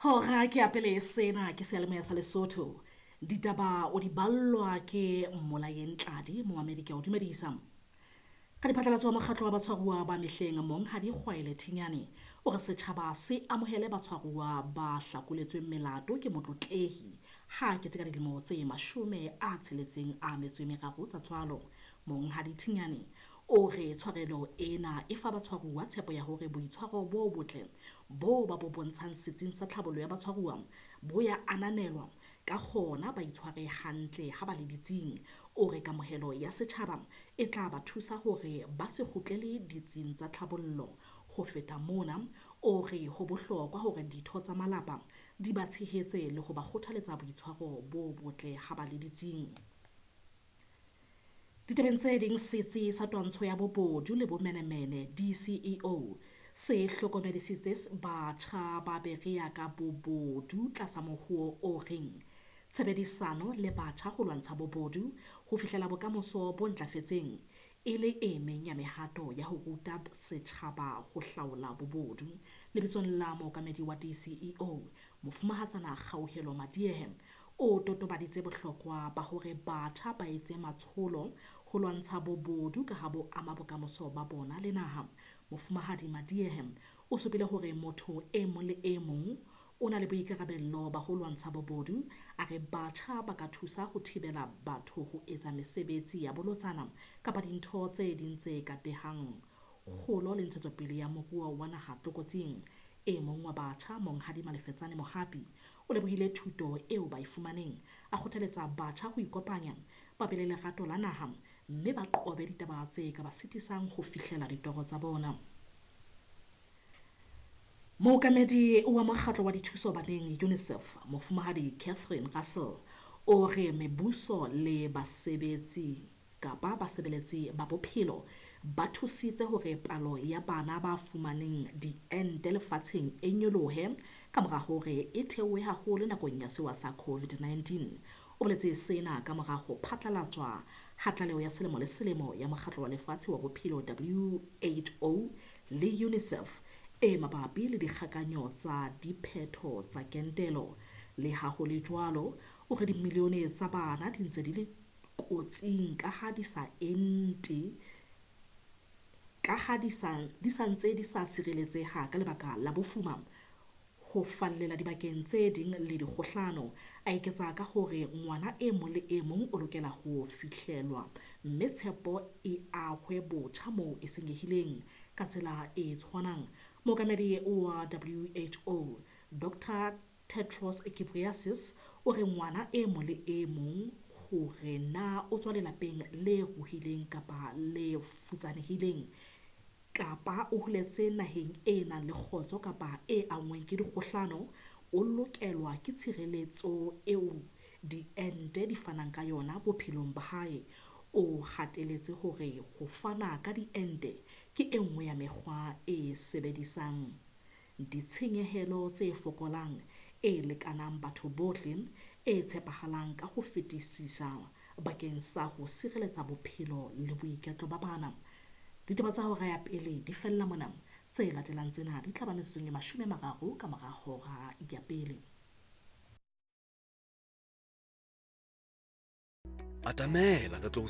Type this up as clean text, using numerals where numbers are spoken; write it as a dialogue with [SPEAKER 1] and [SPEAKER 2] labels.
[SPEAKER 1] Hora ke ya pele sena ke seyalemoya sa Lesotho. Ditaba o di ballwa ke Mmolayeng Tladi, momamedi ke a o dumedisa. Ka diphatlalatso wa mokgatlo wa batshwaruwa ba mehleng Monghadi Kgwaele Thinyane o re setjhaba se amohele batshwaruwa ba hlakoletsweng melato ke motlotlehi ha a keteka dilemo tse 63 tsa tswalo. Monghadi Thinyane o re tshwarelo ena e fa batshwaruwa tshepo ya hore boitshwaro bo botle bo ba bo bontshang setsing sa tlhabollo ya batshwaruwa bo ya ananelwa ka kgona ba itshware hantle ha ba le ditsing. O re kamohelo ya setjhaba e tla ba thusa hore ba se kgutlele ditsing tsa tlhabollo. Ho feta mona, o re ho bohlokwa hore ditho tsa malapa di ba tshehetse le ho ba kgothaletsa boitshwaro bo botle ha ba le ditsing. Ditabeng tse ding, setsi sa twantsho ya bobodu le bomenemene DCEO se hlokomedisitse batjha ba Berea ka bobodu tlasa mohuo o reng tshebedisano le batjha ho lwantsha bobodu ho fihlela bokamoso bo ntlafetseng e le e meng ya mehato ya ho ruta setjhaba ho hlaola bobodu. Lebitsong la mookamedi wa DCEO, Mofumahatsana Kgauhelo Madiehe, o totobaditse bohlokwa ba hore batjha ba etse matsholo ho lwantsha bobodu ka ha bo ama bokamoso ba bona le naha. Mofumahadi Madiehe o supile hore motho e mong le e mong o na le boikarabello ba ho lwantsha bobodu. A re batjha ba ka thusa ho thibela batho ho etsa mesebetsi ya bolotsana kapa dintho tse ding tse ka behang kgolo le ntshetsopele ya moruo wa naha tlokotsing. E mong wa batjha, Monghadi Malefetsane Mohapi, o lebohile thuto eo ba e fumaneng, a kgothaletsa batjha ho ikopanya, ba be le lerato la naha mme ba qobe ditaba tse ka ba sitisang ho fihlela ditoro tsa bona. Mookamedi wa mokgatlo wa dithuso baneng UNICEF, Mofumahadi Catherine Russell, o re mebuso le basebetsi kapa basebeletsi ba bophelo ba thusitse hore palo ya bana ba fumaneng diente lefatsheng e nyolohe ka mora hore e theohe haholo nakong ya sewa sa COVID-19. O boletse sena ka mora ho phatlalatswa ha tlaleho ya selemo le selemo ya mokgatlo wa lefatshe wa bophelo WHO le UNICEF e mabapi le dikgakanyo tsa diphetho tsa kentelo. Le ha ho le jwalo, o re dimilione tsa bana di ntse di le kotsing ka ha di sa ente, ka ha di sa ntse di sa sireletseha ka lebaka la bofuma, ho fallela dibakeng tse ding le dikgohlano. A eketsa ka hore ngwana e mong le e mong o lokela ho fihlelwa mme tshepo e ahwe botjha moo e senyehileng. Ka tsela e tshwanang, mookamedi wa WHO Dr. Tedros Ghebreyesus o re ngwana e mong le e mong hore na o tswa lelapeng le ruhileng kapa le futsanehileng kapa o holetse naheng e nang le kgotso kapa e anngweng ke dikgohlano, o lokelwa ke tshireletso eo diente di fanang ka yona bophelong ba hae. O hateletse hore ho fana ka diente ke e nngwe ya mekgwa e sebedisang ditshenyehelo tse fokolang, e lekanang batho bohle, e tshepahalang ka ho fetisisa bakeng sa ho sireletsa bophelo le boiketlo ba bana. Ditaba tsa hora ya pele di fella mona. Tse latelang tsena di tla ba metsotsong e 30 ka mora hora ya pele.
[SPEAKER 2] Atamela re tlo